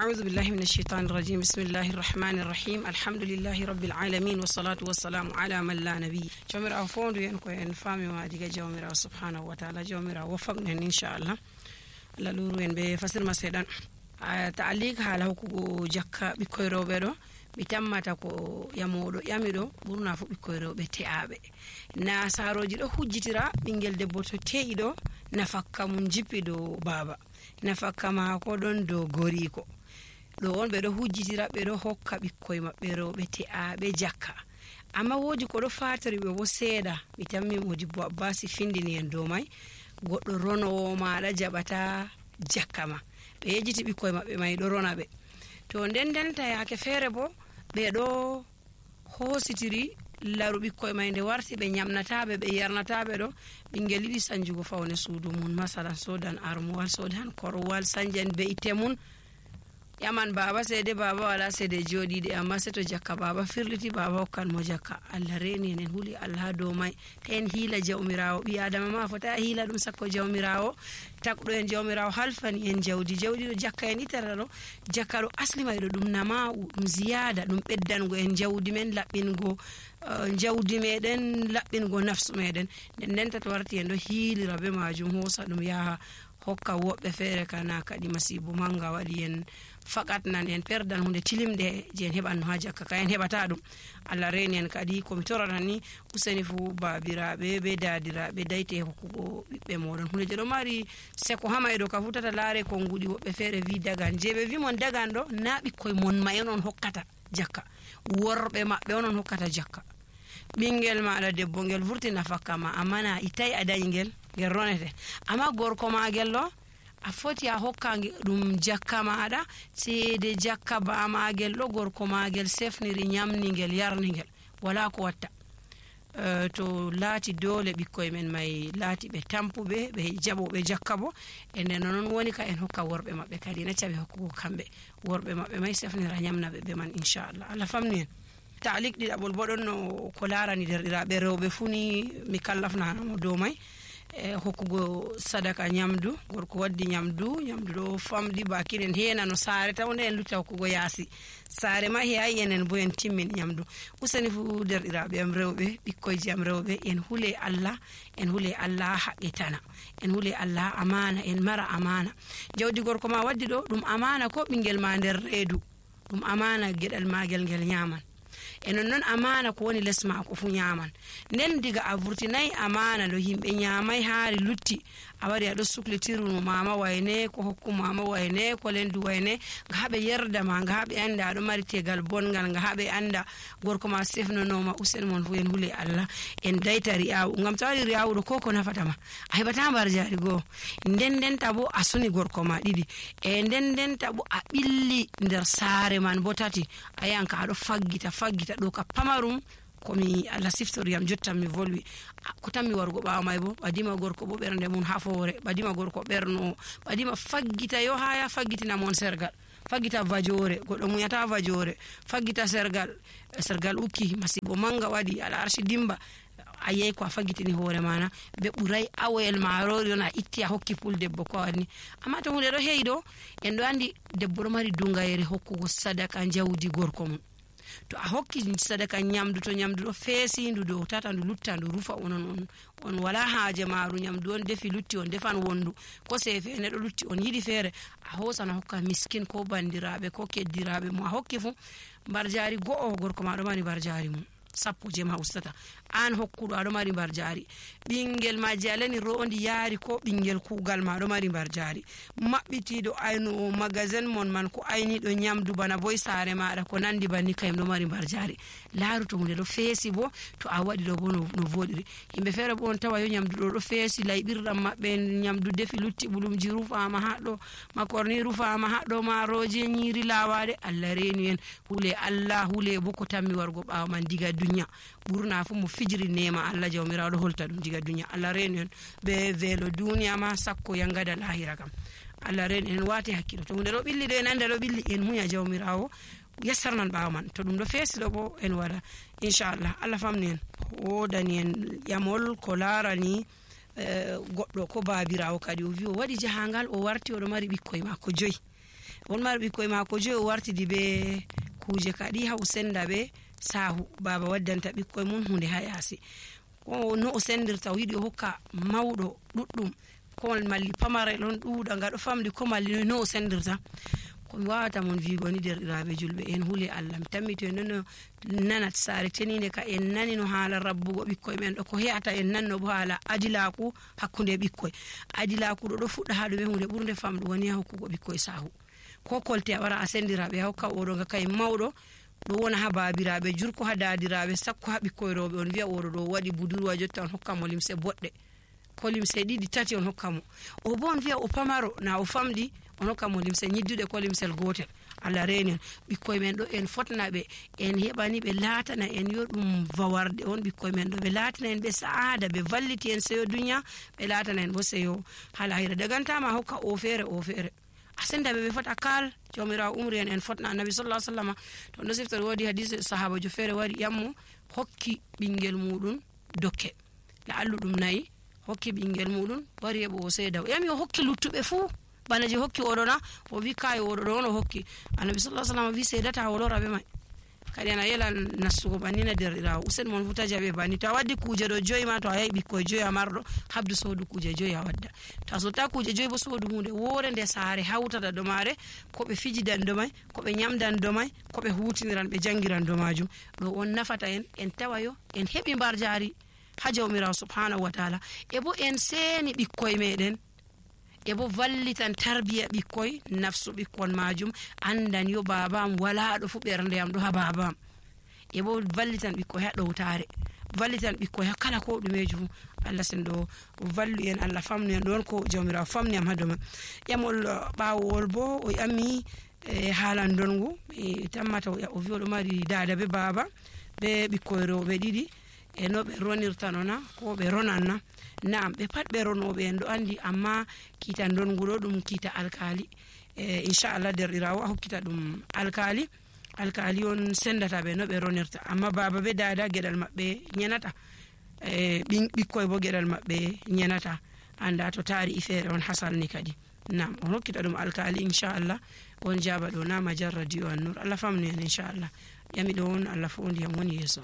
أعوذ بالله من الشيطان الرجيم بسم الله الرحمن الرحيم الحمد لله رب العالمين والصلاة والسلام على من لا نبي جميرا فوندو ين كو en fami ma diga jawmira subhanahu wa ta'ala jawmira wafaqnen inshallah la luru en be fasir ma sedan ta'liq hala ko jakka bikoy rewbe do mi tammata ko yamodo yamido burna fu bikoy rewbe te'abe na saroji do hujjitira bingel debbo to te'ido nafakka mun jippido baba nafakka ma ko don do goriko do on be do hujjitira be do hokka bikkoy mabbe rewbe te'abe jakka amma wodi ko do fatari be bo seeda mi tammi Modibbo Abbasi findini en do mai goddo rono ma da jabata jakka ma be yejiti bikkoy mabbe mai do rona be to dendenta yake fere bo be do hositiri laru bikkoy mai nde warti be nyamnataabe be yarnataabe do bingel yidi sanjugo fawne suudu mun masalan sodan armuwal sodan korwal sanjan be itemun yaman baba sede baba wala sede jodi de amma seto jakka baba firliti baba kan mo jakka Allah reni en huli Allah do mai ten hila jawmirawo bi adama ma fota hila dum sakko jawmirawo takdo en jawmirawo halfani en jawdi do jakka en itaralo jakka do asli mai do dum nama dum ziyada dum beddango en jawdi men labbingo jawdi meden labbingo nafsu meden den to warti en do hilira be majum hosa dum yaha hokka wobbe fere kana kadi masibu manga wadi en fakat nan en perdan hunde tilimde je en heban ha jakka ka en hebata dum Allah reni en kadi ko mi torata ni useni fu babirabe be dadirabe dayte hokkugo bibbe modon hunde je do mari seko hamaydo ka futata laare ko ngudi wobbe fere vi dagan jebe vi mon dagan do na bikkoy mon mayonon hokkata jakka worbe mabbe onon hokkata jakka bingel maada debbo ngel vurtina fakka ma amana itay adayi ngel ronete amma gorko ma gello a foti a hokka dum jakka maada seede jakka ba ma gello gorko ma gel sefniri nyamni ngel yarni ngel wala ko watta to laati dole bikkoy men mai laati be tampube be jabobe jakka bo enen non woni ka en hokka worbe mabbe kadi na cabe hokkugo kambe worbe mabbe mai sefnira nyamna be man inshallah Allah famni ta'liq di abul bodon no ko larani derdiraabe rewbe funi mi kallafna mo do mai hokkugo sadaka nyamdu gorko waddi nyamdu do famdi bakinen hena no saare tawne en lutta hokkugo yaasi saare ma heeyi enen bo en timmin nyamdu usani fu derdiraabe am rewbe bikkoy jam rewbe en hule Allah haqqitana en hule Allah amana en mara amana jawdi gorko ma waddi do dum amana ko bingel ma der reedu dum amana gedal magel ngel nyaman enon non amana ko woni lesma ko fu nyaman nden diga a vurtinai amana do himbe nyamai haari lutti a wari ado suklitiru mama wayne ko hokku mama wayne ko lendu wayne ngabe yerda ma ngabe anda do mari tegal bongal ngabe anda gorko ma sefno no ma usen mon fu en hule Allah en daytari aw ngam tawari riawu do koko nafata ma a hebata bar jari go den tabo asuni gorko ma didi e den tabo a billi nder saare man botati ayanka ado faggita do ka pamarum komi Allah siftoriyam jottam mi volwi ko tammi wargo baawa may bo badima gorko bo bernde mun hafore badima gorko berno badima faggita yo haya faggitina mon sergal faggita vajore goddo munyata vajore faggita sergal ukki masibo manga wadi ala arshi dimba ayey ko faggitini hore mana be buray awel marori na itti a hokki pul debbo ko wani amma to hunde do heydo en do andi debbo do mari dungayere hokkugo sadaka jawdi gorko mun to a hokki sadaka nyamdu to nyamdu do feesi ndu do tata ndu lutta ndu rufa on wala haaje maru nyamdu on defi lutti on defan wondu ko sefe ne do lutti on yidi fere a hosana hokka miskin ko bandiraabe ko keddiraabe mo a hokki fu barjaari go'o gorko ma do mari barjaari mum sappo je ma ustata an hokkudo ado mari barjaari bingel ma jalani rondi yaari ko bingel kugal ma do mari barjaari mabbitido ayno magasin mon man ko ayni do nyamdu bana boy saare maada ko nandi banni kayim do mari barjaari laaru to hunde do feesi bo to a wadi do bo no vodiri himbe fere bo on tawa yo nyamdu do feesi laybirdam mabbe nyamdu defi lutti bulumji rufaama haddo makorni rufaama haddo maaroje nyiri lawaade Allah reni en hule Allah hule bo ko tammi wargo baaw man diga dunya burna fu mo fijiri nema Allah jawmiraado holta dum diga dunya Allah reni en be velo dunya ma sakko yangada lahira kam Allah reni en wati hakkilo to hunde do billi de nande do billi en munya jawmirawo yassarnan baaw man to dum do feesi do bo en wada inshallah Allah famni en wodani en yamol ko larani goddo ko babirawo kadi o wi o wadi jahangal o warti o do mari bikkoy makko joyi on mari ɓikkoye mako joyi o wartidi be kuje kadi ha o senda be sahu baba waddanta ɓikkoye mum hunde ha yasi ko no o sendirta o yiɗi o hokka mawɗo ɗuɗɗum ko malli pamarel on ɗuuɗa nga ɗo famdi ko malli no o sendirta ko mi wawata mon wigo ni derɗiraɓe julɓe en huule Allah mi tammito en nono nanat saare tenide ka en nani no haala rabbugo ɓikkoye men ɗo ko he'ata en nanno bo haala adilaku hakkunde ɓikkoye adilaku ɗo fuɗɗa ha ɗume hunde ɓurde famɗu woni ha hokkugo ɓikkoye sahu ko kolte a wara a sendiraɓe a hokka oɗo nga kay mawɗo ɗo wona ha babiraɓe jurko ha dadiraɓe sakko ha ɓikkoye rewɓe on wiya oɗo ɗo waɗi budurwa jotta on hokka mo limse boɗɗe ko limse ɗiɗi tati on hokka mo o bo on wiya o pamaro na o famɗi on hokka mo limse ñidduɗe ko limsel gotel Allah reni on ɓikkoye men ɗo en fotna ɓe en heɓani ɓe latana en yo ɗum vawarde on ɓikkoye men ɗo ɓe latana en ɓe saada ɓe valliti en seyo duniya ɓe latana en bo seyo halahira dagantama hokka o feere a senda ɓe fota kal jawmirawo umri en fotna annabi sallallahu alaihi wasallam to ndo siftori wodi hadisi sahaba jo feere wari yammo hokki ɓingel muɗum dokke la alluɗum nayi hokki ɓingel muɗum wari heɓo o seeda yami o hokki luttuɓe fuu bana je hokki oɗo na o wi kayo oɗo ɗo on o hokki annabi sallallahu alaihi wasallam wi seedata o lora ɓe mai kadi ana yela nastugo bannina derɗirawo usen mon futa jaɓe banni to a waddi kuje ɗo joyi ma to a yahi ɓikkoye joyi a marɗo habdu sodu kuje joyi a wadda to a sotta kuje joyi bo sodu hunde wore nde saare hawtata do mare ko ɓe fijidan do mai ko ɓe nyamdan do mai ko ɓe hutiniran ɓe jangiran do majum ɗo on nafata en tawayo en heɓi mbar jari ha jawmirawo subhanahu wa ta'ala e bo en seni ɓikkoye meɗen e bo vallitan tarbiya ɓikkoye nafsu ɓikkon majum andan yo babam wala ɗo fu ɓernde am ɗo ha babam e bo vallitan ɓikkoye ha ɗowtare vallitan ɓikkoye ha kala ko ɗumeji fu Allah sendo vallu en Allah famnu en ɗon ko jawmirawo famni am ha doma ƴamol ɓawowol bo o yammi haalan dongu mi tammata o wi oɗo mari dada be baba be ɓikkoye rewɓe ɗiɗi e no ɓe ronirta nona ko ɓe ronanna naam ɓe pat ɓe ronoɓe en ɗo andi amma kiita donguɗo ɗum kiita alkali inchallah derɗirawo a hokkita ɗum alkali on sendata ɓe no ɓe ronirta amma baba be dada gueɗal maɓɓe ñanata ɓikkoye bo gueɗal maɓɓe ñanata anda to taari i feere on hasalni kadi naam on hokkita ɗum alkali inchallah on jaba ɗo na majar radio an nur Allah famnu en inchallah ƴami ɗo on Allah fo ndiyam woni yeeso